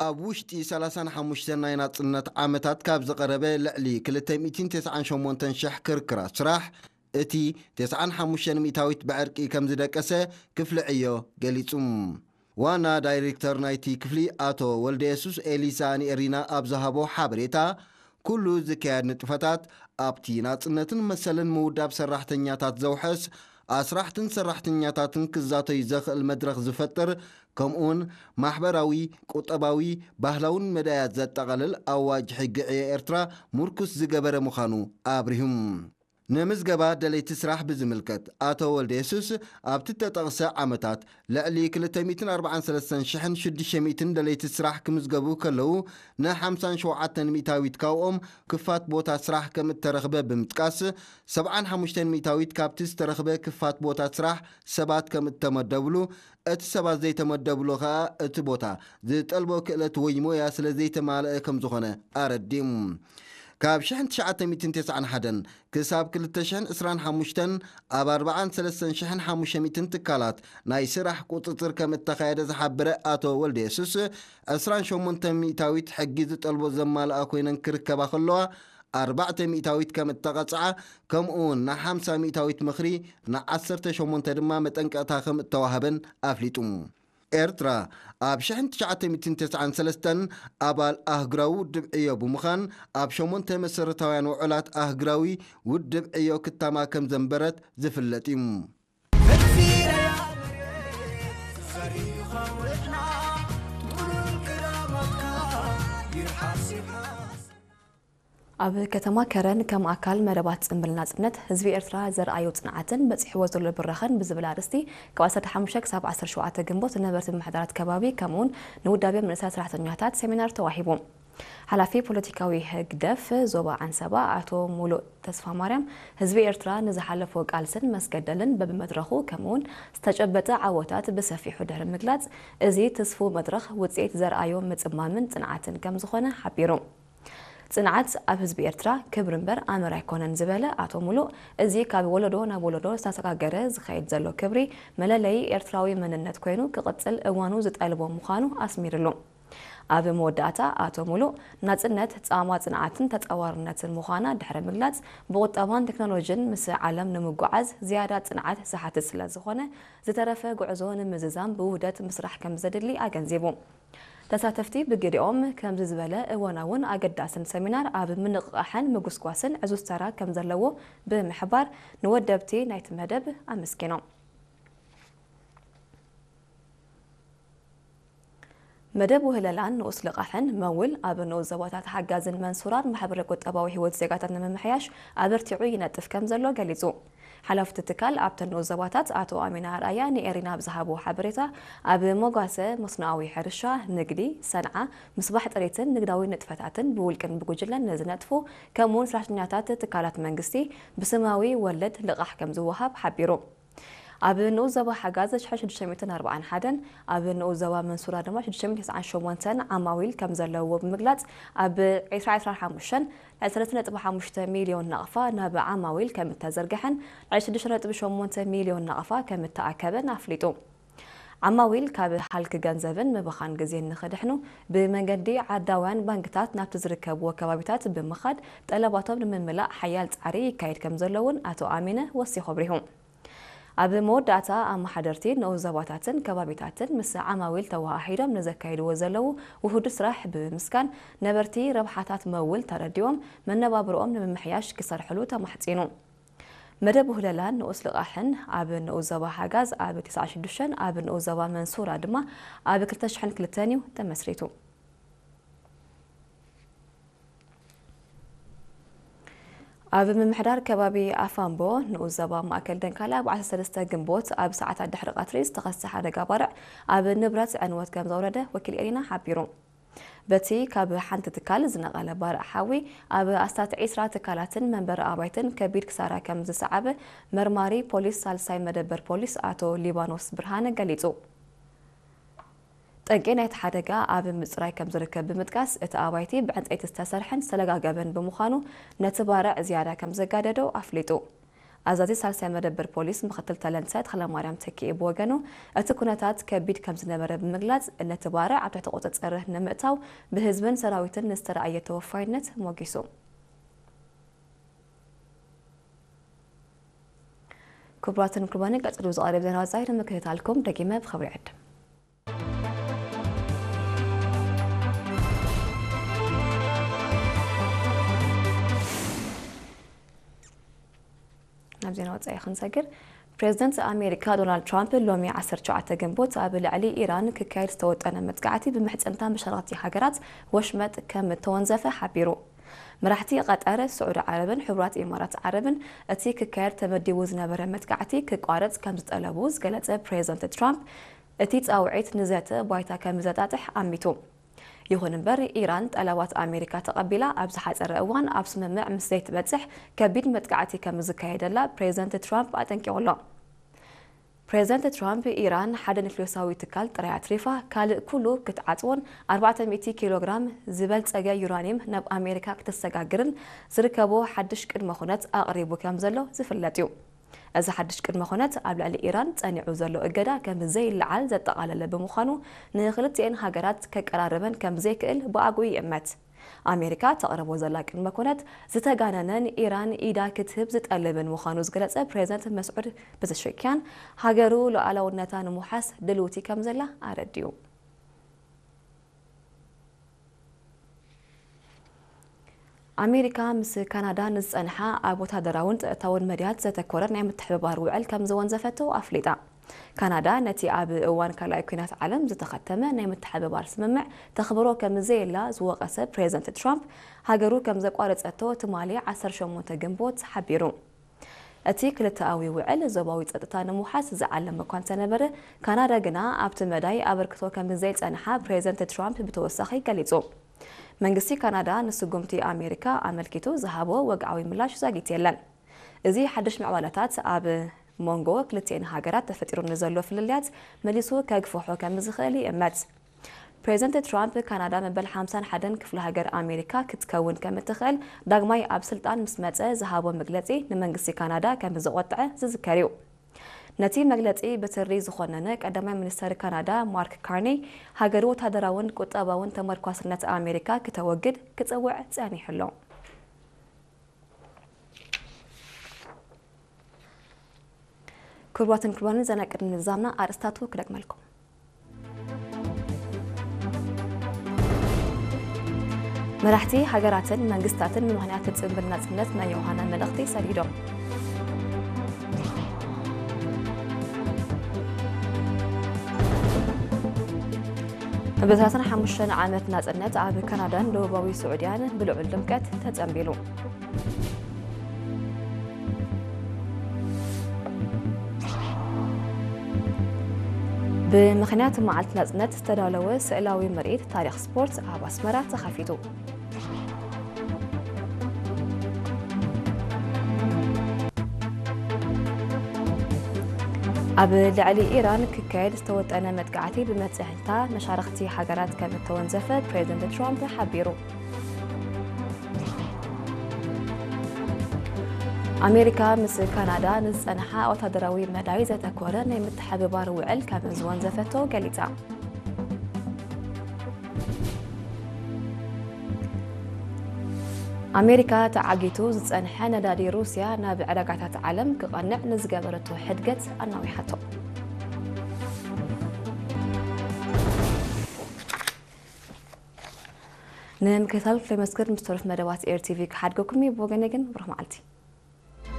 ኣብ ውሽጢ ሰላሳን ሓሙሽተን ናይ ናጽነት ዓመታት ካብ ዝቐረበ ልዕሊ ክልተ ሚእትን ተስዓን ሸሞንተን ሽሕ ክርክራት ስራሕ፣ እቲ ተስዓን ሓሙሽተን ሚእታዊት ብዕርቂ ከም ዝደቀሰ ክፍሊ ዕዮ ገሊጹ። ዋና ዳይሬክተር ናይቲ ክፍሊ ኣቶ ወልደየሱስ ኤሊሳ ንኤሪና ኣብ ዝሃቦ ሓበሬታ፣ ኩሉ ዝካየድ ንጥፈታት ኣብቲ ናጽነትን መሰልን ምውዳብ ሰራሕተኛታት ዘውሕስ፣ ኣስራሕትን ሰራሕተኛታትን ክዛተዩ ዘኽእል መድረኽ ዝፈጥር፣ ከምኡውን ማሕበራዊ፣ ቁጠባዊ፣ ባህላውን መዳያት ዘጠቓልል ኣዋጅ ሕጊ ዕዮ ኤርትራ ምርኩስ ዝገበረ ምዃኑ ኣብሪሁ። ንምዝገባ ደለይቲ ስራሕ ብዝምልከት፣ ኣቶ ወልደየሱስ ኣብቲ እተጠቕሰ ዓመታት ልዕሊ ክልተ ሚእትን ኣርባዓን ሰለስተን ሽሕን ሽዱሽተ ሚእትን ደለይቲ ስራሕ ክምዝገቡ ከለዉ፣ ን ሓምሳን ሸውዓተን ሚእታዊት ካብኦም ክፋት ቦታ ስራሕ ከም እተረኽበ ብምጥቃስ፣ ሰብዓን ሓሙሽተን ሚእታዊት ካብቲ ዝተረኽበ ክፋት ቦታ ስራሕ ሰባት ከም እተመደብሉ፣ እቲ ሰባት ዘይተመደብሉ ከኣ እቲ ቦታ ዝጠልቦ ክእለት ወይ ሞያ ስለ ዘይተማልአ ከም ዝኾነ ኣረዲኡ። ካብ ሽሕን ትሽዓተ ሚእትን ተስዓን ሓደን ክሳብ ክልተ ሽሕን ዕስራን ሓሙሽተን ኣብ ኣርባዓን ሰለስተን ሽሕን ሓሙሽተ ሚእትን ትካላት ናይ ስራሕ ቁጽጽር ከም እተኻየደ ዝሓበረ ኣቶ ወልደየሱስ፣ ዕስራን ሸሞንተን ሚእታዊት ሕጊ ዝጠልቦ ዘማልኣ ኮይነን ክርከባ ከለዋ፣ ኣርባዕተ ሚእታዊት ከም እተቐጽዓ፣ ከምኡ እውን ንሓምሳ ሚእታዊት ምኽሪ፣ ንዓሰርተ ሸሞንተ ድማ መጠንቀቕታ ከም እተዋህበን ኣፍሊጡ። ኤርትራ ኣብ ሽሕን ትሽዓተ ሚእትን ተስዓን ሰለስተን ኣባል ኣህጉራዊ ውድብ ዕዮ ብምዃን፣ ኣብ ሸሞንተ መሰረታውያን ውዑላት ኣህጉራዊ ውድብ ዕዮ ክታማ ከም ዘንበረት ዝፍለጥ እዩ። ኣብ ከተማ ከረን ከም ኣካል መደባት ጽምብል ናጽነት፣ ህዝቢ ኤርትራ ዘርኣዮ ጽንዓትን በጺሕዎ ዘሎ ብራኸን ብዝብል ኣርእስቲ፣ ካብ ዓሰርተ ሓሙሽተ ክሳብ ዓሰርተ ሸውዓተ ግንቦት ንነበርቲ ምምሕዳራት ከባቢ፣ ከምኡውን ንውዳቤ መንእሰያት ሰራሕተኛታት ሰሚናር ተዋሂቡ። ሓላፊ ፖለቲካዊ ህግደፍ ዞባ ዓንሰባ ኣቶ ሙሉእ ተስፋማርያም፣ ህዝቢ ኤርትራ ንዝሓለፎ ቃልስን መስገደልን በብመድረኹ፣ ከምኡውን ዝተጨበጠ ዓወታት ብሰፊሑ ድሕሪ ምግላጽ፣ እዚ ትስፉው መድረኽ ውጽኢት ዘርኣዮ ምጽማምን ጽንዓትን ከም ዝኾነ ሓቢሩ። ጽንዓት ኣብ ህዝቢ ኤርትራ ክብሪ እምበር ኣምር ኣይኮነን ዝበለ ኣቶ ሙሉእ፣ እዚ ካብ ወለዶ ናብ ወለዶ ዝተሰጋገረ ዝኸይድ ዘሎ ክብሪ መለለዪ ኤርትራዊ መንነት ኮይኑ ክቕጽል እዋኑ ዝጠልቦ ምዃኑ ኣስሚርሉ። ኣብ መወዳእታ ኣቶ ሙሉእ፣ ናጽነት ጻማ ጽንዓትን ተጻዋርነትን ምዃና ድሕሪ ምግላጽ፣ ብቁጠባን ቴክኖሎጅን ምስ ዓለም ንምጉዓዝ ዝያዳ ጽንዓት ዝሓትት ስለ ዝኾነ፣ ዝተረፈ ጉዕዞ ንምዝዛም ብውህደት ምስራሕ ከም ዘድሊ ኣገንዚቡ። ተሳተፍቲ ብግዲኦም፣ ከምዚ ዝበለ እዋናውን ኣገዳስን ሰሚናር ኣብ ምንቕቓሕን ምጉስጓስን ዕዙዝ ተራ ከም ዘለዎ ብምሕባር፣ ንወደብቲ ናይቲ መደብ ኣመስጊኖም። መደብ ውህለላን ንኡስ ልቓሕን መውል ኣብ ንኡስ ዞባታት ሓጋዝን መንሱራን ማሕበረ ቁጠባዊ ህይወት ዜጋታት ንምምሕያሽ ኣበርቲዑ ይነጥፍ ከም ዘሎ ገሊጹ። ሓላፊ እቲ ትካል ኣብተን ንኡስ ዞባታት ኣቶ ኣሚና ኣርኣያ ንኤሪና ኣብ ዝሃብዎ ሓበሬታ፣ ኣብ መጓሰ፣ መስኖኣዊ ሕርሻ፣ ንግዲ፣ ሰንዓ፣ ምስባሕ ጥሪትን ንግዳዊ ንጥፈታትን ብውልቅን ብጉጅለን ንዝነጥፉ ከምኡውን ሰራሕተኛታት ትካላት መንግስቲ ብስማዊ ወለድ ልቓሕ ከም ዝወሃብ ሓቢሩ። ኣብ ንኡስ ዞባ ሓጋዝ ሽሕን ሽዱሽተ ሚእትን ኣርባዓን ሓደን፣ ኣብ ንኡስ ዞባ መንሱራ ድማ ሽዱሽተ ሚእትን ተስዓን ሸሞንተን ዓማዊል ከም ዘለዎ ብምግላጽ፣ ኣብ ዕስራ ዕስራን ሓሙሽተን ልዕሊ ሰለስተ ነጥቢ ሓሙሽተ ሚልዮን ናቕፋ ናብ ዓማዊል ከም እተዘርግሐን ልዕሊ ሽዱሽተ ነጥቢ ሸሞንተ ሚልዮን ናቕፋ ከም እተኣከበን ኣፍሊጡ። ዓማዊል ካብ ሃልኪ ገንዘብን ምብኻን ግዜን ንኽድሕኑ፣ ብመንገዲ ዓዳውያን ባንክታት ናብቲ ዝርከብዎ ከባቢታት ብምኻድ ጠለባቶም ንምምላእ ሓያል ጻዕሪ ይካየድ ከም ዘሎ እውን ኣቶ ኣሚነ ወሲኹ ኣብሪሁ። ኣብ መወዳእታ፣ ኣመሓደርቲ ንኡስ ዞባታትን ከባቢታትን ምስ ዓማዊል ተወሃሂዶም ንዘካይድዎ ዘለዉ ውሁድ ስራሕ ብምምስጋን፣ ነበርቲ ረብሓታት መውል ተረዲኦም መነባብርኦም ንምምሕያሽ ክሰርሕሉ ተማሕጺኑ። መደብ ውህለላን ንኡስ ልቓሕን ኣብ ንኡስ ዞባ ሓጋዝ ኣብ ተስዓን ሽዱሽተን፣ ኣብ ንኡስ ዞባ መንሱራ ድማ ኣብ ክልተ ሽሕን ክልተን እዩ ተመስሪቱ። ኣብ ምምሕዳር ከባቢ ኣፋምቦ ንኡስ ዞባ ማእከል ደንካላ ኣብ ዓሰርተ ሰለስተ ግንቦት ኣብ ሰዓታት ድሕሪ ቀትሪ ዝተኸስተ ሓደጋ ባርዕ ኣብ ንብረት ዕንወት ከም ዘውረደ ወኪል ኤሪና ሓቢሩ። በቲ ካብ ሓንቲ ትካል ዝነቐለ ባርዕ ሓዊ ኣብ ኣስታት ዒስራ ትካላትን መንበሪ ኣባይትን ከቢድ ክሳራ ከም ዝሰዓበ መርማሪ ፖሊስ ሳልሳይ መደበር ፖሊስ ኣቶ ሊባኖስ ብርሃነ ገሊጹ። ጠንቂ ናይቲ ሓደጋ ኣብ ምጽራይ ከም ዝርከብ ብምጥቃስ፣ እቲ ኣባይቲ ብዕንጸይቲ ዝተሰርሐን ዝተለጋገበን ብምዃኑ፣ ነቲ ባርዕ ዝያዳ ከም ዘጋደዶ ኣፍሊጡ። ኣዛዚ ሳልሳይ መደበር ፖሊስ ምክትል ተለንተ ተኽለማርያም ተኪኤ ብወገኑ፣ እቲ ኩነታት ከቢድ ከም ዝነበረ ብምግላጽ፣ ነቲ ባርዕ ኣብ ትሕቲ ቁጽጽር ንምእታው ብህዝብን ሰራዊትን ንዝተረኣየ ተወፋይነት ሞጊሱ። ክቡራትን ክቡራንን፣ ቀጺሉ ዝቐርብ ዜና ወጻኢ ንምክትታልኩም ደጊመ ብኽብሪ ዕድም። ናብ ዜና ወጻኢ ክንሰግር፣ ፕሬዚደንት ኣሜሪካ ዶናልድ ትራምፕ ሎሚ ዓሰርተ ትሽዓተ ግንቦት ኣብ ልዕሊ ኢራን ክካየድ ዝተወጠነ መጥቃዕቲ ብምሕጽንታ መሻርኽቲ ሃገራት ወሽመጥ ከም እተወንዘፈ ሓቢሩ። መራሕቲ ቀጠር፣ ስዑዲ ዓረብን ሕቡራት ኢማራት ዓረብን እቲ ክካየድ ተመዲቡ ዝነበረ መጥቃዕቲ ክቋረጽ ከም ዝጠለቡ ዝገለጸ ፕሬዚደንት ትራምፕ፣ እቲ ጻውዒት ንዘተ ባይታ ከም ዘጣጥሕ ኣሚቱ። ይኹን እምበር፣ ኢራን ጠለባት ኣሜሪካ ተቐቢላ ኣብ ዝሓጸረ እዋን ኣብ ስምምዕ ምስ ዘይትበጽሕ፣ ከቢድ መጥቃዕቲ ከም ዝካየደላ ፕሬዚደንት ትራምፕ ኣጠንቂቑ ኣሎ። ፕሬዚደንት ትራምፕ፣ ኢራን ሓደ ኒክሌሳዊ ትካል ጥራይ ኣትሪፋ፣ ካልእ ኩሉ ክትዓጽዎን ኣርባዕተ ሚእቲ ኪሎ ግራም ዝበልጸገ ዩራኒየም ናብ ኣሜሪካ ክተሰጋግርን ዝርከቦ ሓድሽ ቅድመ ኩነት ኣቕሪቡ ከም ዘሎ ዝፍለጥ እዩ። እዚ ሓድሽ ቅድመ ኩነት ኣብ ልዕሊ ኢራን ጸኒዑ ዘሎ እገዳ ከም ዘይለዓል ዘጠቓለለ ብምዃኑ፣ ንክልቲኤን ሃገራት ከቀራርበን ከም ዘይክእል ብኣግኡ ይእመት። ኣሜሪካ ተቕርቦ ዘላ ቅድመ ኩነት ዝተጋነነን ኢራን ኢዳ ክትህብ ዝጠልብን ምዃኑ ዝገለጸ ፕሬዚደንት መስዑድ ፐዘሽኪያን፣ ሃገሩ ሉዓላውነታ ንምውሓስ ድልውቲ ከም ዘላ ኣረዲኡ። ኣሜሪካ ምስ ካናዳ ንዝጸንሓ ኣብ ወታደራውን ጸጥታውን መዳያት ዘተኮረ ናይ ምትሕብባር ውዕል ከም ዝወንዘፈቶ ኣፍሊጣ። ካናዳ ነቲ ኣብ እዋን ካልኣይ ኲናት ዓለም ዝተኸተመ ናይ ምትሕብባር ስምምዕ ተኽብሮ ከም ዘየላ ዝወቐሰ ፕሬዚደንት ትራምፕ፣ ሃገሩ ከም ዘቋረጸቶ ትማሊ ዓሰርተ ሸሞንተ ግንቦት ሓቢሩ። እቲ ክልተኣዊ ውዕል ዞባዊ ጸጥታ ንምውሓስ ዝዓለመ እኳ እንተነበረ፣ ካናዳ ግና ኣብቲ መዳይ ኣበርክቶ ከም ዘይጸንሓ ፕሬዚደንት ትራምፕ ብተወሳኺ ገሊጹ። መንግስቲ ካናዳ ንስጉምቲ ኣሜሪካ ኣመልኪቱ ዝሃቦ ወግዓዊ ምላሽ ዛጊት የለን። እዚ ሓድሽ ምዕባለታት ኣብ መንጎ ክልቲኤን ሃገራት ተፈጢሩ ንዘሎ ፍልልያት መሊሱ ከግፍሖ ከም ዝኽእል ይእመት። ፕሬዚደንት ትራምፕ፣ ካናዳ መበል ሓምሳን ሓደን ክፍለ ሃገር ኣሜሪካ ክትከውን ከም እትኽእል ዳግማይ ኣብ ስልጣን ምስ መጸ ዝሃቦ መግለጺ ንመንግስቲ ካናዳ ከም ዘቖጥዐ ዝዝከር እዩ። ነቲ መግለጺ ብትሪ ዝኾነነ ቀዳማይ ሚኒስተር ካናዳ ማርክ ካርኒ፣ ሃገሩ ወታደራውን ቁጠባውን ተመርኳስነት ኣሜሪካ ክተወግድ ክጸውዕ ጸኒሑ ኣሎ። ክቡራትን ክቡራንን፣ ዜና ቅድሚ ምዝዛምና ኣርእስታቱ ክደግመልኩም። መራሕቲ ሃገራትን መንግስታትን ንምኽንያት ጽንብል ናጽነት ናይ ዮሃና መልእኽቲ ሰዲዶም። ብሰላሳን ሓሙሽተን ዓመት ናጽነት ኣብ ካናዳን ደቡባዊ ስዑድያን ብልዑል ድምቀት ተጸንቢሉ። ብምኽንያት መዓልቲ ናጽነት ዝተዳለወ ስእላዊ ምርኢት ታሪኽ ስፖርት ኣብ ኣስመራ ተኸፊቱ። ኣብ ልዕሊ ኢራን ክካየድ ዝተወጠነ መጥቃዕቲ ብመጽንሕታ መሻርኽቲ ሃገራት ከም እተወንዘፈ ፕሬዚደንት ትራምፕ ሓቢሩ። ኣሜሪካ ምስ ካናዳ ንዝጸንሓ ወታደራዊ መዳይ ዘተኮረ ናይ ምትሕብባር ውዕል ከም ዝወንዘፈቶ ገሊጻ። ኣሜሪካ ተዓጊቱ ዝጸንሐ ነዳዲ ሩስያ ናብ ዕዳጋታት ዓለም ክቐንዕ ንዝገበረቶ ሕድገት ኣናዊሓቶ። ንምክትታል ክፍለ መስክር ምስ ተረፍ መደባት ኤር ቲቪ ክሓድገኩም እዩ። ብወገነይ ግን ብሩህ መዓልቲ።